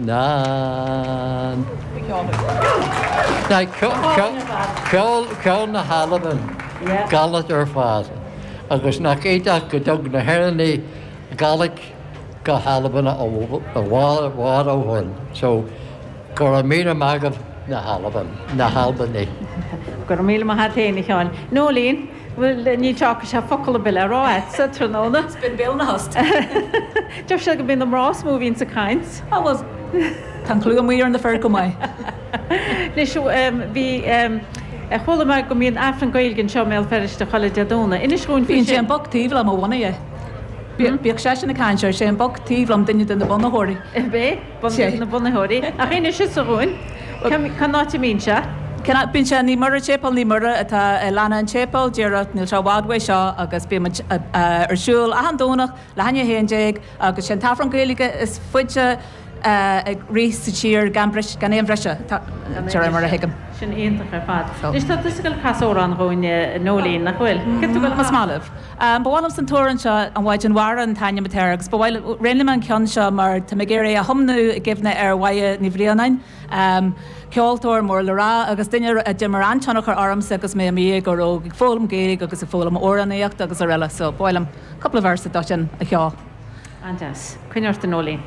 Nan. Ceol, ceol na hAlban, Gàidhlig ar fad. Agus nach iontach go dtug na hÉireannaigh Gàidhlig go hAlbain i bhfad ó shoin. So, go raibh míle maith agaibh na hAlban, na hAlbanaigh. Go raibh míle maith agat féin, a Sheáin. Noeleen, Bhuel, níl sé focal ar bith le rá agatsa tráthnóna. Is binn béal ina thost. Deir siad go mbíonn na mná is mó a bhíonns ag caint. Á bhuel, tá an clú amuigh ar na fir chomh maith. Anois, bhí, chuala mé go mbíonn Aifreann Gaeilge anseo i mBéal Feirste chuile Dé Domhnaigh. Inis dhúinn faoi sin. Bíonn sé an boc taobh liom a bhunaigh é. Bíodh seisean ag caint air, sé an boc taobh liom duine de na bunaitheoirí. Ab é? Duine de na bunaitheoirí. Ach inis thusa dhúinn, cén áit a mbíonn sé? Bíonn sé i Naomh Muire, Séipéal Naomh Muire atá i Lána an tSéipéil, díreach, níl sé i bhfad uaidh seo agus bíonn muid ar siúl achan Domhnach leath i ndiaidh 11 agus sé an t-Aifreann Gaeilge is faide ag rith sa tír gan gan aon bhriseadh, de réir mar a thuigim. Sin iontach ar fad. Anois tá tusa ag dul ag casadh amhrán dhúinn, a Noeleen, nach bhfuil? Cé tú ag dul a Más maith libh. Ba mhaith liomsa an t-amhrán seo, An Mhaighdean Mhara an t-ainm atá air, agus ba mhaith liom, roghnaigh mé an ceann seo mar tá mé ag iarraidh é a thiomnú i gcuimhne ar Mháire Ní Bhraonáin, ceoltóir mór le rá agus duine a d'imir an-tionchar ormsa agus mé i mo dhéagóir óg ag foghlaim Gaeilge agus ag foghlaim amhránaíochta agus araile so ba mhaith liom cúpla véarsa dó sin a cheol. An-deas. Coinnigh ort a Noeleen.